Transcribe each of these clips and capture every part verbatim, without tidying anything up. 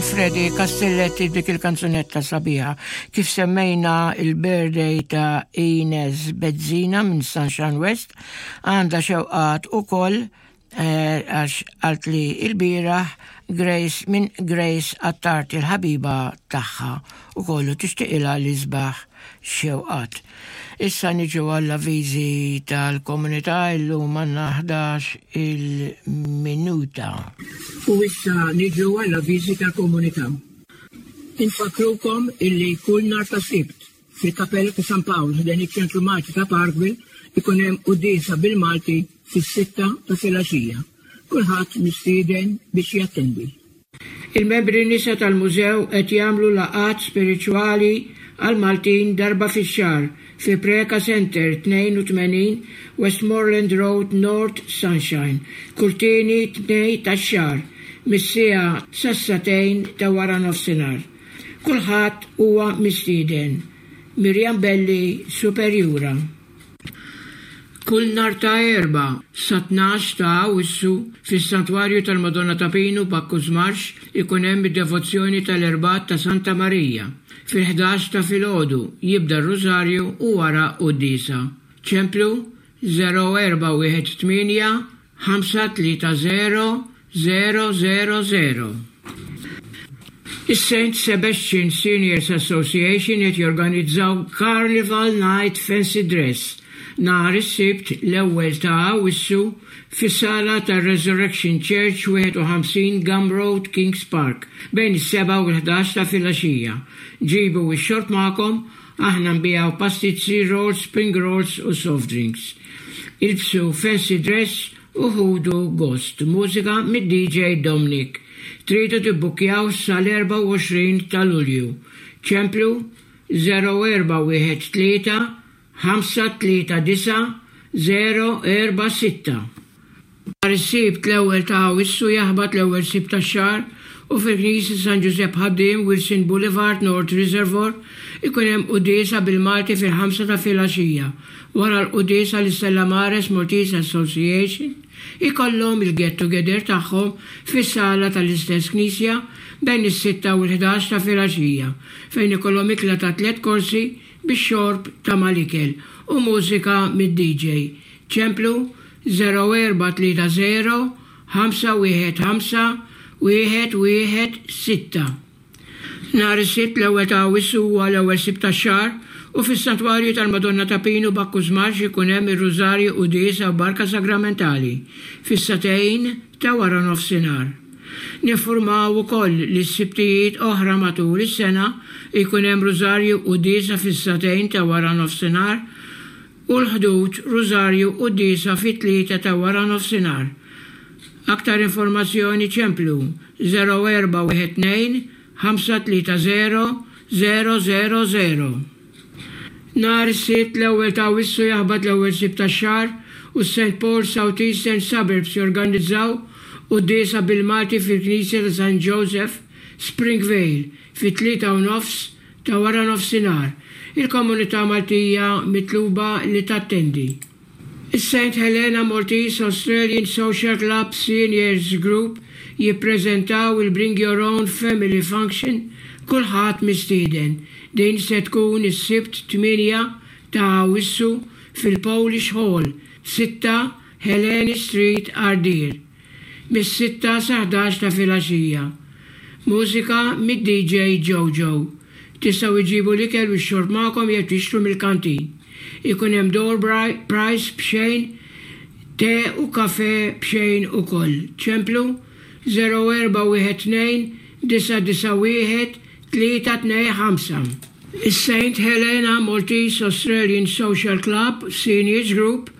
Freddy Castelletti dik il-kanzunetta sabiħa. Kif semmejna il-birthday ta' Ines Bezzina minn Sunshine West, għandha xewqat ukoll eh, għax għalt li il-bieraħ Grace minn Grace Attard il-ħabiba tagħha u kollu tixtiqilha l-isbaħ xewqat. Issa niġu għall-avviżi tal-komunità illum għandna ħdax il-minuta. U issa niġu għall-avviżi tal-komunità. Infakkrukom illi kull nhar ta' Sibt fil-Kapella ta' San Pawl ħdejn iċ-ċentru Malti ta' Parkville ikun hemm quddiesa bil-Malti fis-sitta ta' filgħaxija. Kulħadd mistieden biex jattendi. Il-membri nisa tal-mużew qed jagħmlu laqgħat spiritwali għal Maltin darba fix-xahar fi Preca Center tnejn u tmenin Westmoreland Road, North Sunshine, kull tieni Tnejn tax-xahar mis-siegħa sas-sagħtejn ta' wara nofsinhar. Kulħadd huwa mistieden. Mirjam Belli, Superjura. Kull nhar ta' Erbgħa sa tnax ta' Awwissu fis-Santwarju tal-Madonna ta' Pinu, Bacchus Marsh, ikun hemm id-devozzjoni tal-Erbgħat ta' Santa Marija. Fil-ħdax ta' filgħodu jibda r-Rużarju u wara quddiesa. Ċemplu żero erba' wieħed tmienja ħamsa tlieta żero żero żero żero. Is-Saint Sebastian Seniors Association qed jorganizzaw Carnival Night Fancy Dress nhar is-Sibt l-ewwel ta' Awwissu fis-sala tar-Resurrection Church, wieħed u ħamsin Gum Road, Kings Park, bejn is-sebgħa u l-ħdax ta' filgħaxija. Ġibu x-xorb magħkom, aħna nbigħu pastizzi, rolls, spring rolls u soft drinks. Ilbsu fancy dress u ħudu gost. Mużika mid-D J Dominic. Tridu tibbukjaw sal-erbgħa u għoxrin ta' Lulju. Ċemplu żero erba' wieħed tlieta ħamsa tlieta disgħa żero erba' sitta. Nhar is-Sibt l-ewwel ta' Awwissu jaħbat l-ewwel Sibt tax-xahar u fil-Knisja San Giuseppe Ħaddiem, Wilson Boulevard, North Reservoir, ikun hemm quddiesa bil-Malti fil-ħamsa ta' filgħaxija. Wara l-quddiesa l-Stella Maris Maltese Association ikollhom il-get together tagħhom fis-sala tal-istess knisja bejn is-sitta u l-ħdax ta' filgħaxija, fejn ikollhom ikla ta' tliet korsi bix-xorb ta' mal-ikel u mużika mid-D J. Ċemplu żero erba' tlieta żero ħamsa wieħed ħamsa wieħed wieħed sitta. Nhar is-Sibt l-ewwel ta' Awwissu huwa l-ewwel Sibt tax-xahar u fis-Santwarju tal-Madonna ta' Pinu, Bacchus Marsh, ikun hemm ir-Rużarju, quddiesa u barka sagramentali fis-sagħtejn ta' wara nofsinhar. Ninfurmaw ukoll li s-Sibtijiet oħra matul is-sena jkun hemm Rużarju, quddiesa fis-sagħtejn ta' wara nofsinhar u l-Ħdud Rużarju, quddiesa fit-tlieta ta' wara nofsinhar. Aktar informazzjoni ċemplu żero erba' wieħed tnejn ħamsa tlieta żero żero żero żero. Nhar is-Sibt l-ewwel ta' Awwissu jaħbat l-ewwel Sibt tax-xahar u Saint Paul South Eastern Suburbs jorganizzaw quddiesa bil-Malti fil-Knisja ta' Saint Joseph, Springvale, fit-tlieta u nofs ta' wara nofsinhar. Il-komunità Maltija mitluba li tattendi. Is-Saint Helena Maltese Australian Social Club Seniors Group jippreżentaw il-Bring Your Own Family Function, kulħadd mistieden. Din se tkun is-Sibt tmienja ta' Awwissu fil-Polish Hall, sitta Helene Street, Ardeer. Mis-sitta sa ħdax ta' filgħaxija. Mużika mid-D J Jojo. Tistgħu iġibu l-ikel u x-xorb magħkom jew tixtru mill-kantin. Ikun hemm door prize b'xejn, te u kafe b'xejn ukoll. Ċemplu żero erba' wieħed tnejn disgħa disgħa wieħed tlieta tnejn ħamsa. Is-Saint Helena Maltese Australian Social Club Seniors Group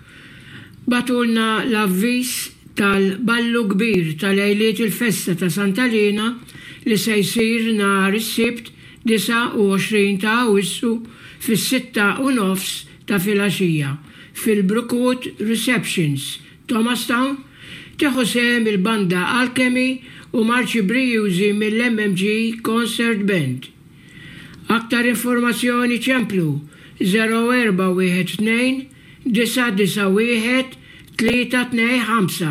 bagħtulna l-avviż tal-ballu kbir tal-lejliet il-festa ta' Santa Lina li se jsir nhar is-Sibt disgħa u għoxrin ta' Awwissu fis-sitta u nofs ta' filgħaxija fil-Brookwood Receptions, Thomastown. Tieħu sehem il-banda Alchemy u marċi brijużi mill-M M G Concert Band. Aktar informazzjoni ċemplu żero erba' wieħed tnejn disgħa disgħa wieħed tlieta tnejn ħamsa.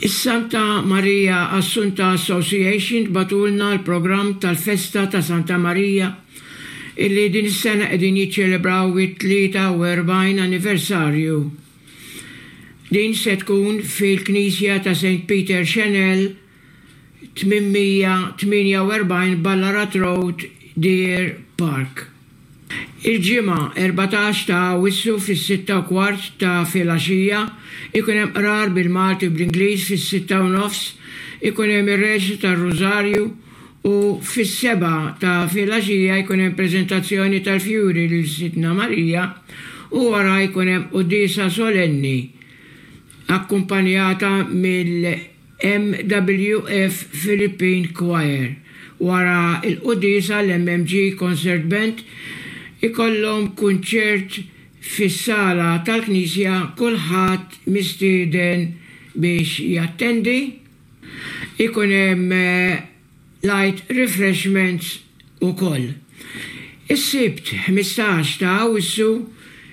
Is-Santa Maria Assunta Association bagħtulna l-programm tal-festa ta' Santa Maria illi din is-sena qegħdin jiċċelebraw it-tlieta u erbgħin anniversarju. Din se tkun fil-Knisja ta' Saint Peter Chanel, tmienmija tmienja u erbgħin Ballarat Road, Deer Park. Il-Ġimgħa erbatax ta' Awwissu fis-sitta u kwart ta' filgħaxija ikun hemm qrar bil-Malti u bl-Ingliż. Fis-sitta u nofs ikun hemm ir-reċtu tar-Rużarju u fis-sebgħa ta' filgħaxija jkun hemm preżentazzjoni tal-fjuri lil Sidtna Marija u wara jkun hemm quddiesa solenni akkumpanjata mill-M W F Philippine Choir. Wara il-quddiesa l-M M G Concert Band ikollhom kunċert fis-sala tal-Knisja, kulħadd mistieden biex jattendi. Ikun hemm eh, light refreshments ukoll. Is-Sibt ħmistax ta' Awwissu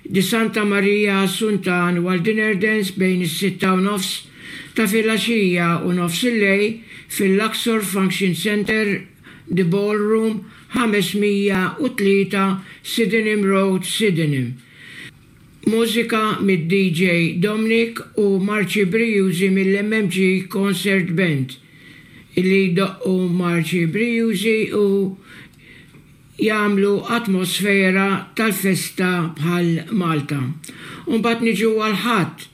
di Santa Maria Assunta Annual Dinner Dance bejn is-sitta u nofs ta' filgħaxija u nofs il-lejl fil-Luxor Function Center, The Ballroom, ħames mija u tlieta Sydenham Road, Sydenham. Mużika mid-D J Dominic u Marċi Brijużi mill-M M G Concert Band illi doqqu Marċi Brijużi u jagħmlu atmosfera tal-festa bħal Malta. Umbagħad niġu għall-Ħadd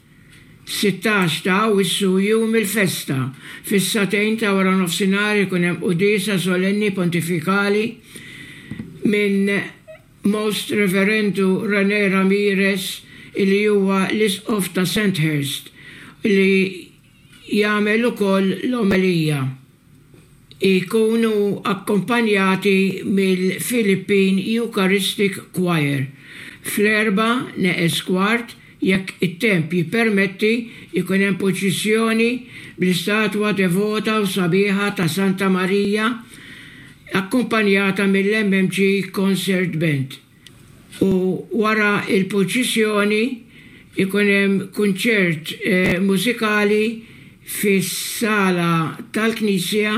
sittax ta' Awwissu, jum il-festa. Fis-sagħtejn ta' wara nofsinhar ikun hemm quddiesa solenni pontifikali minn Most Reverendu Rene Ramirez illi huwa l-isqof ta' Sandhurst li jagħmel ukoll l-omelija. Ikunu akkompanjati mill-Philippine Eucharistic Choir. Fl-erbgħa neqes kwart, jekk it-temp jippermetti, ikun hemm purċissjoni bl-istatwa devota u sabiħa ta' Santa Maria akkumpanjata mill-M M G Concert Band. U wara il-purċissjoni ikun hemm kunċert eh, mużikali fis-sala tal-Knisja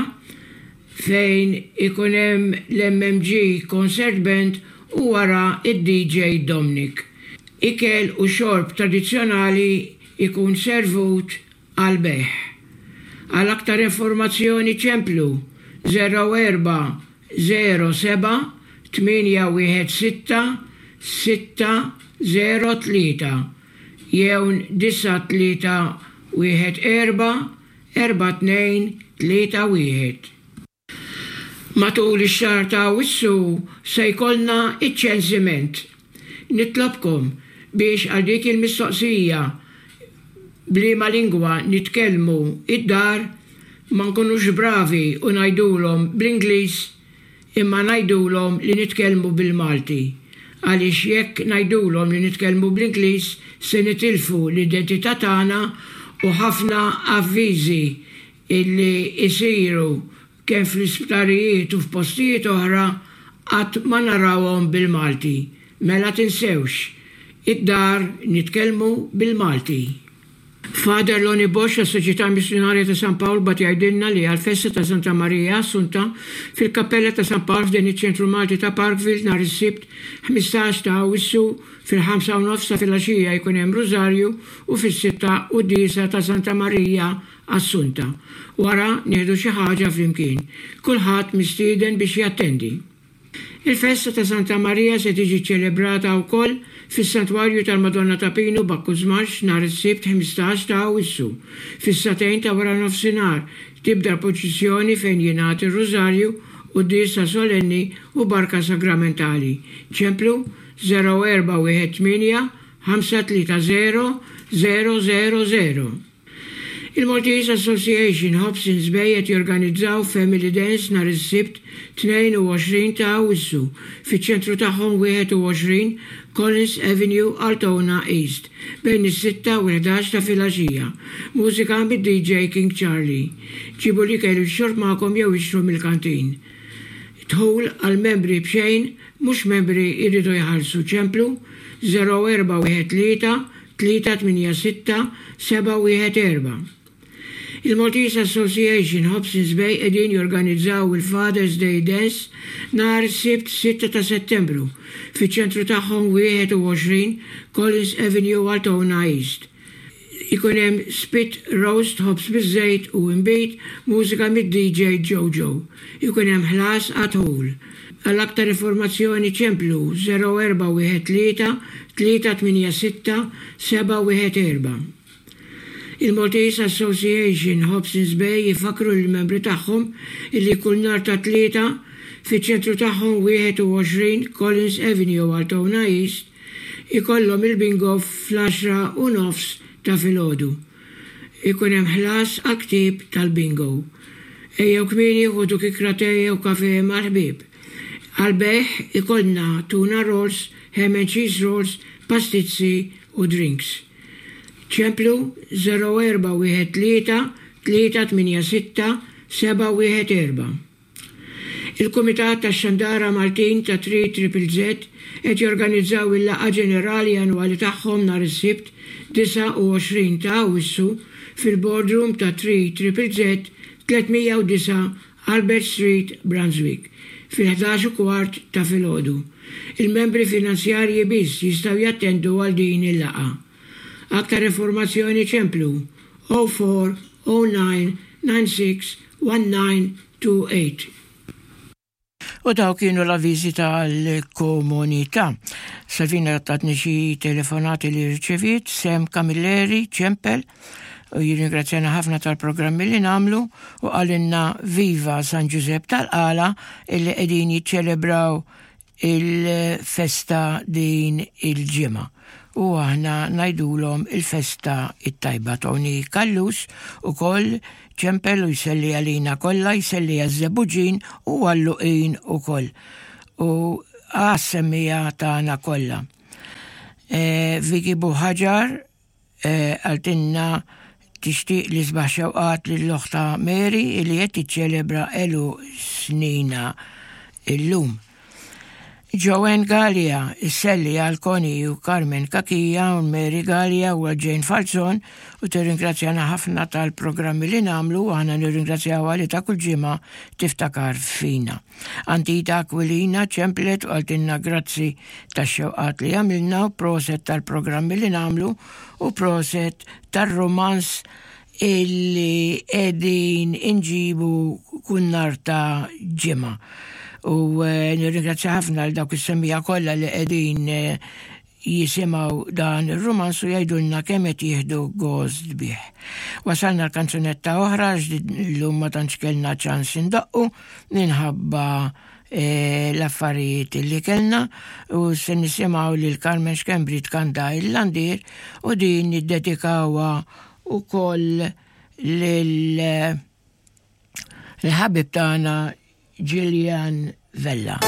fejn ikun hemm l-M M G Concert Band u wara id-D J Dominic. Ikel u xorb tradizzjonali ikun servut għal bejgħ. Għal aktar informazzjoni ċemplu zero erba' zero seba' tmienja wieħed sitta sitta zero tlieta jew disa' tlieta wieħed erba' erba' tnejn tlieta wieħed. Matul ix-xahar ta' Awwissu se jkollna iċ-ċensiment. Nitlobkom biex għal dik il-mistoqsija b'liema lingwa nitkellmu id-dar ma nkunux bravi u ngħidulhom bl-Ingliż, imma ngħidulhom li nitkellmu bil-Malti. Għaliex jekk ngħidulhom li nitkellmu bl-Ingliż se nitilfu l-identità tagħna u ħafna avviżi illi isiru kemm fl-isptarijiet u f'postijiet oħra qatt ma narawhom bil-Malti. Mela tinsewx, id-dar nitkellmu bil-Malti. Father Loni Bosch, Soċjetà Missjonarja ta' San Pawl, bagħat jgħidilna li għal-festa ta' Santa Maria Assunta fil-Kappella ta' San Pawl f'din iċ-ċentru Malti ta' Parkville nhar is-Sibt ħmistax ta' Awwissu fil-ħamsa u nofs ta' filgħaxija jkun hemm Rużarju u fis-sitta quddiesa ta' Santa Maria Assunta. Wara nieħdu xi ħaġa flimkien. Kulħadd mistieden biex jattendi. Il-festa ta' Santa Maria se tiġi ċelebrata wkoll fis-Santwarju tal-Madonna ta' Pinu, Bacchus Marsh, nhar is-Sibt ħmistax ta' Awwissu. Fis-sagħtejn ta' wara nofsinhar tibda l-purċissjoni fejn jingħad ir-Rużarju, quddiesa solenni u barka sagramentali. Ċemplu zero erba' wieħed tmienja ħamsa tlieta zero zero zero zero. Il-Maltese Association Hobsons Bay qed jorganizzaw Family Dance nhar is-Sibt tnejn u għoxrin ta' Awwissu fiċ-ċentru tagħhom, wieħed u għoxrin Collins Avenue, Altona East, bejn is-sitta u l-ħdax ta' filgħaxija. Mużika mid-D J King Charlie. Ġibu l-ikel u x-xorb magħkom jew ixtru mill-kantin. Dħul għal membri bxejn, mhux membri jridu jħallsu. Ċemplu zero erba' wieħed tlieta tlieta tmienja sitta seba' wieħed erba'. Il-Maltese Association Hobsons Bay qegħdin jorganizzaw il-Father's Day Dance nhar Sibt sitta ta' Settembru fiċ-ċentru tagħhom wieħed u għoxrin Collins Avenue, Altona East. Ikun hemm spit roast, ħobż biż-żejt u imbit, mużika mid-D J Jojo. Ikun hemm ħlas għad-dħul. Għal aktar informazzjoni ċemplu zero erba' wieħed tlieta tlieta tmienja sitta seba' wieħed erba'. Il-Maltese Association Hobsons Bay jifakru l-membri tagħhom illi kull nhar ta' Tlieta fiċ-ċentru tagħhom wieħed u għoxrin Collins Avenue, Altona East ikollhom il-bingo fl-għaxra u nofs ta' filgħodu. Ikun hemm ħlas għal ktieb tal-bingo. Ejjew kmieni, ħudu kikra te u kafe mal-ħbieb. Għal-bejgħ ikollna tuna rolls, ham and cheese rolls, pastizzi u drinks. Ċemplu zero erba' wieħed tlieta tlieta tmienja sitta seba' wieħed erba'. Il-Kumitat tax-Xandara Maltin ta' tlieta Triple Z qed jorganizzaw il-laqgħa ġenerali annwali tagħhom nhar is-Sibt disgħa u għoxrin ta' Awwissu fil-boardroom ta' tlieta Triple Z, tliet mija u disgħa Albert Street, Brunswick, fil-ħdax u kwart ta' filgħodu. Il-membri finanzjarji biss jistgħu jattendu għal din il-laqgħa. Aktar informazzjoni ċemplu zero erba' zero nine nine six one nine two eight. U daw kienu l-avviżi tal-komunità. Salvina tatni xi telefonati li rċevit, Sem Camilleri, ċempel, u jirringrazzjana ħafna tal-programmi li nagħmlu u qalilna Viva San Giuseppe tal-Qala illi qegħdin jiċċelebraw il-festa din il-ġimgħa. U aħna ngħidulhom il-festa it-tajba. Tony Kallus ukoll ċempel u jselli għalina kollha, jselli għaż-Żebbuġin u għal-Luqin ukoll. U għas-semmiegħa tagħna kollha. E, Viki Buħaġar e, qaltilna tixtieq l-isbaħ xewqat lil oħtha Mary li qed tiċċelebra għeluq sninha illum. Joanne Gallia isselli għal Connie u Carmen Kakija u Mary Gallia u Jane Falzon u tirringrazzjana ħafna tal-programmi li nagħmlu u aħna nirringrazzjaw li ta' kull ġimgħa tiftakar fina. Antita Aquilina ċemplet u qaltilna grazzi tax-xewqat li għamilna u proset tal-programmi li nagħmlu u proset tar-romans illi qegħdin inġibu kull nhar ta' Ġimgħa. U eh, nirringrazzja ħafna għal dawk is-semmiegħa kollha li qegħdin eh, jisimgħu dan ir-romans u jgħidulna kemm qed jieħdu gost bih. Wasalna l-kanzunetta oħra għax llum ma tantx kellna ċans indoqqu minħabba eh, l-affarijiet li kellna u se nisimgħu lil Carmen Schembri tkanta il-Landier u din niddedikawha ukoll lil l-ħabib tagħna Gillian Vella.